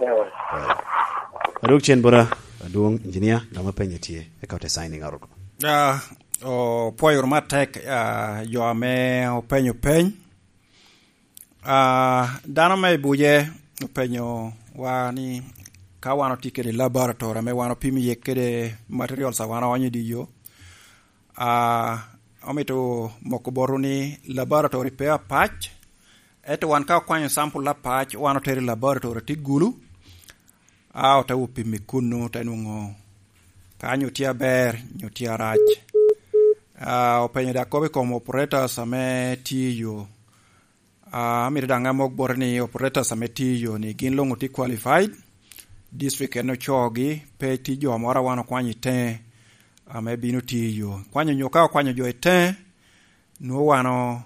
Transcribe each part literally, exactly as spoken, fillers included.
Adwog cen bota, adwong engineer, dama penye tye, eka ote signing out oko. Ah, opwoyo wunu matek, ah, jo ame openyo peny. Ah, dano me i buce openyo wa ni ka wan otye kede laboratory ame wan opimo iye kede materials a wan oonyo i dye yo, ah, omito moko botwu ni laboratory pe apac, ento wan ka okwanyo sample apac, wan otero i laboratory tye Gulu, a ote wo pimo i kunnu, te nwoŋo ka nyo tye aber, nyo tye arac. Ah, openyo dok kop i kom operators ame tye i yo. Ah, amito daŋ amok bote ni operators ame tye i yo ni gin luŋ otye qualified, district en ocoogi, pe tye jo moro a wan okwanyo i teŋe, ame bino tye i yo. Kwanyo nyo ka okwanyo jo i teŋe, nwoŋo wan o-,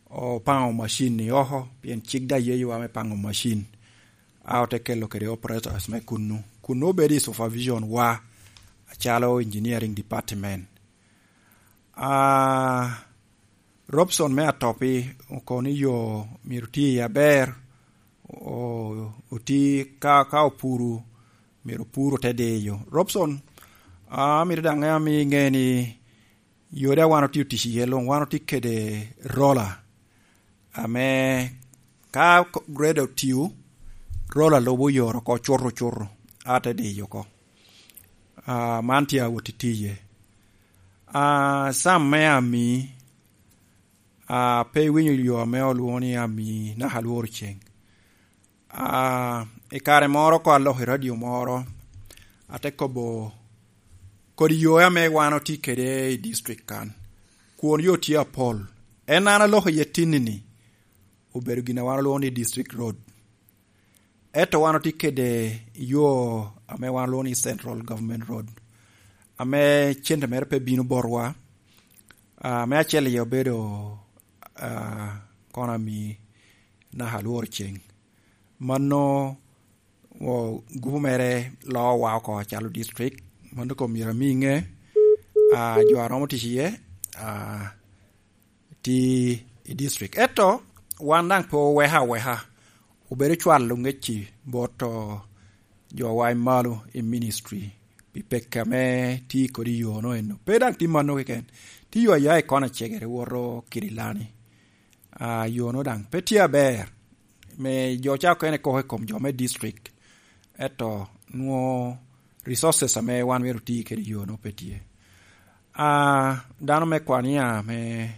opaŋo macin ni oko, pien cik daŋ yeyowa me paŋo macin. A ote kelo kede operators me kunnu. Kunnu obedo i supervision wa, acalo engineering department. Ah, Robson me Atopi okobo ni yo myero oti iye aber, o-, oti ka, ka opuru, myero opur ote diyo. Robson, ah, amito daŋ ami iŋe ni yo daŋ wan otye otic iye luŋ, wan otye kede roller, ame ka ko-, grader otio, roller lubo yore oko cuto cuto, a te diyo oko. Ah, man tye awot i tiye. Ah, Sam me Ami, ah, pe iwinyo yo ame olwoŋo ni Ami naka lworo ceng. Ah, i kare moro ko aloko i radio moro, ate kobo kodi yo ame wan otye kede i district kan. Kwon yo tye apol. En an aloko iye tinni-ni, obedo gin a wan olwoŋo ni district road. Ento wan otye kede yo ame wan olwoŋo ni Central Government Road, ame cente mere pe bino botwa. Ah, me acel iye obedo, ah, kono Ami naka alworo ceng. Mano, o, gupu mere loowa oko acalo district. Mano kom myero ami iŋe, ah, jo a romo tic iye, ah, tye i district. Ento wan daŋ pe oweka aweka, obedo cwalo ŋec-ci bot, o, jowa i malo i ministry pi pekki ame tye kodi i yono eno. Pe daŋ tye mano keken, tye yo aya i kona cegere woto Kirilani. Ah, yono daŋ pe tye aber. Me jo ca okene koko i kom jo me district, ento nwoŋo resources ame wan myero oti kede i yono pe tye. Ah, dano me Kwania ame,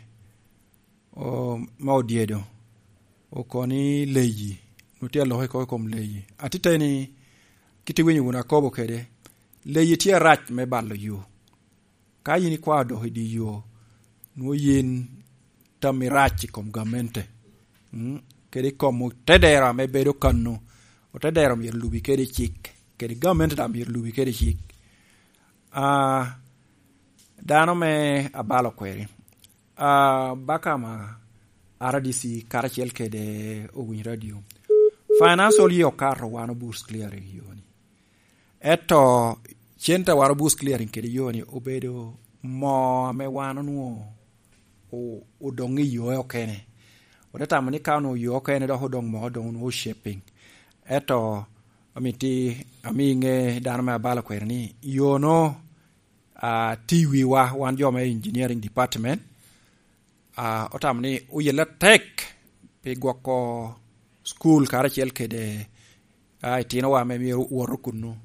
o-, me Odyedo okoni leyi, nwoŋo tye aloko oko i kom leyi. Atiteni, kit iwinyo wunu akobo kede, leyi tye arac me balo yo. Ka yin ikwao dok i dye yo, nwoŋo yin tammi rac i kom gamente, mm, kede i kom otedero ame bedo kano. Otedero myero lubi kede cik, kede gamente daŋ myero lubi kede cik. Ah, dano me abalo kweri, ah, Bakama R D C karacel kede owiny radio, financial year okato wan o bush clearing yo-ni. Ento cente a waro bush clearing kede yo-ni obedo moo ame wan onwoŋo o-, odoŋ i yo okene. Ote tamo ni ka onwoŋo yo okene dok odoŋ moo, doŋ onwoŋo shaping. Ento amiti, ami iŋe dano me abalo kwene ni yo-no, ah, tye i wiwa, wan jo me engineering department. Ah, otamo ni oyelle atek pi gwoko cukul karacel kede, ah, itinowa ame myero wot kunnu.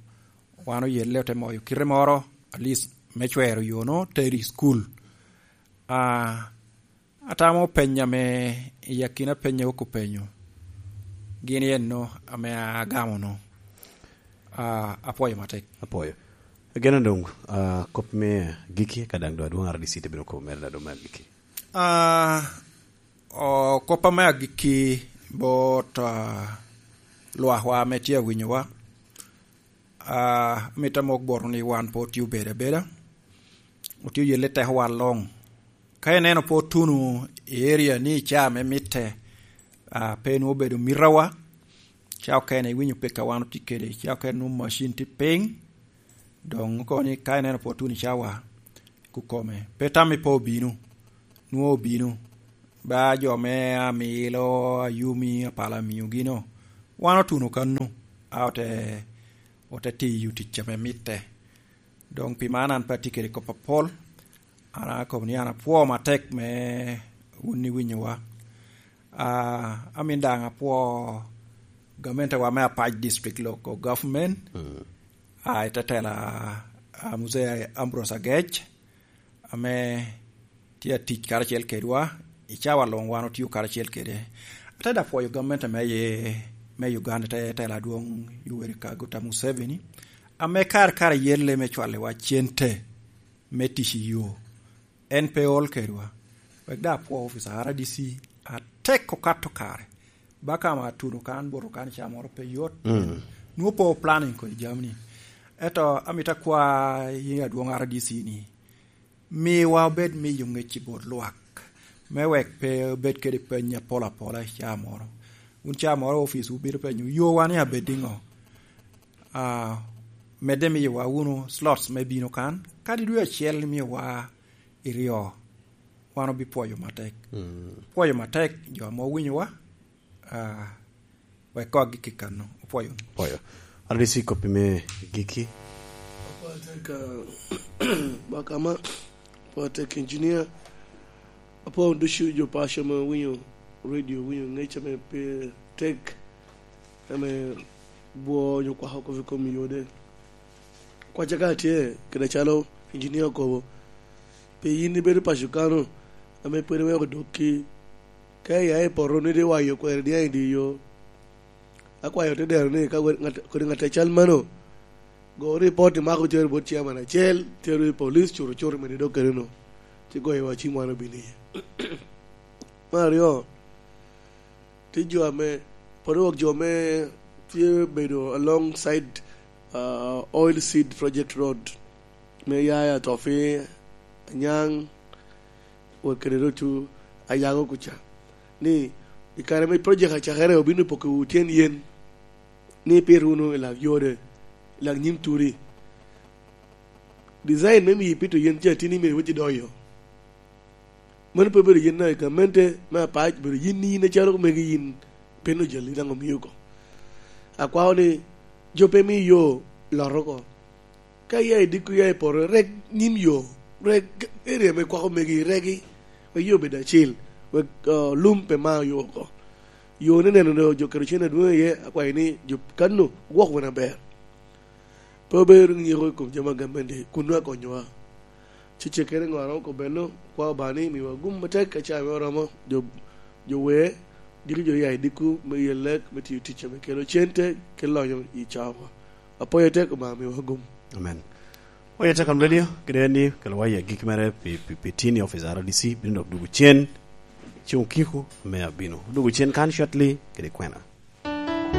Wan oyelle ote moyo kite moro, at least me cwero yo-no tero i cukul. Ah, atamo peny ame i akina peny a wok openyo, gin en-no ame agamo-no. Ah, apwoyo matek. Apwoyo. Ageno doŋ, ah, kop me agikki, ka daŋ doŋ adwoŋ R D C te bino kobo mere na doŋ me agikki. Ah, o, kop ame agikki bot, ah, lwakwa ame tye awinyowa. Ah, amito amok botwu ni wan pe otye obedo abeda, otye oyelle tekowa luŋ. Ka ineno pe otuno i area ni i caa me mitte, ah, pe nwoŋo obedo mitawa, caa okene iwinyo pekka wan otye kede, caa okene nwoŋo macin tye piny, doŋ kono ni ka ineno pe otuno i cawa, kukome. Pe tammi pe obino, nwoŋo obino. Ba jo me Amilo, Ayumi, Apala Miyo gino, wan otuno kano. a ote, ote tiyo tic ame mitte. Doŋ pi man an pe atye kede kop apol, an akobo ni an apwoo matek me wun iwinyowa. Ah, amin daŋ apwoo gamente wa me Apac District Local Government, mm, ah, i te tela, ah, Mzee Ambrose Agec, ame tye atic karacel kedwa, i cawa luŋ wan otio karacel kede. Ate da pwoyo gamente me ye, me Uganda, te tela adwoŋ Yoweri Kaguta Museveni, ame kare kare yelle me cwaliwa cente me tic i yo. En pe ol kedwa. Wek da apwo officer R D C atek okato kare. Baka ma atuno kan, boto kan, ca moro pe yot. Mm. Nwo po planning kodi jamni. Eto amito akwa i adwoŋ R D C ni, miwa obed miyo ŋec i bot lwak, me wek pe obed kede peny apol apola i caa moro. Wun caa moro ofis wubino penyo, "Yo wan i abed iŋo?" Ah, medde miyowa wunu slots me bino kan, kadi dwe acel imiyowa iryo, wan obipwoyo matek. Mm. Pwoyo matek jo ame owinyowa, ah, wek kok gik i kano. Opwoyo. Pwoyo. R D C, koppi me giki. Apwoyo tek, ah, Bakama, apwoyo tek engineer, apwoyo ducu jo paco ame winyo radio, winyo ŋec ame pe tek, ame bwoo onyo kwako kop i kom yode. Kwacca ka tye, kede calo engineer okobo, pi yin ibedo paco kano, ame pwod iweko dok ki, ka iya i poto ni dwe wayo kwero niaŋ i dye yo. Akwayo te dero ni ka wed ŋat, kodi ŋat acal mano, go ripot imako tero bot chairman acel, tero i police, cuto cuto mene dok kede no. Ci goyo wa cim wan obin iye. Me aryo, tye jo ame, pwod wok jo ame tye bedo alongside, uh, Oil Seed Project Road, me ya i Atofi, Anyaŋ, wek kede rocu Ayago kuca. Ni, i kare me project acakere obino pokowu tyen yen, ni ipit wunu i lak yode, i lak nyim turi. Design me miyo ipito yen ca tini myero iwot idoyo. Mano pe obedo yin daŋ i gamente me Apac, obedo yin, yin acalo megi yin, pien ojali daŋ omio oko. Akwao ni jo pe mi yo lot oko. Ka iya i dikku, iya i poto, rek nyim yo, rek area me kwako megi, regi, wek yo obed acil, wek, uh, lum pe ma yo oko. Yo ni neno ni jo kede cen adwoŋ iye, akwayo ni jo kanno gwok wene aber. Pe obedo nyeko i kom jami a gamente, kun nwoŋo akonyowa. Cecekere ŋo a romo kobeno, kwa Obaŋa ni miwa gum matek ka caa me oromo, jo, jo wer, diki jo ya i dikku me yelek, me tiyo tic ame kelo cente, kelo lonyo i cawa. Apwoyo tek, Obaŋa miwa gum. Amen. Oye tek, Radio, kede en ni, kelo wa i agikki mere pi, pi, pi tin i office R D C, bino dok dugu cen, ceŋ okiko me abino. Dugu cen kan shortly, kede kwena.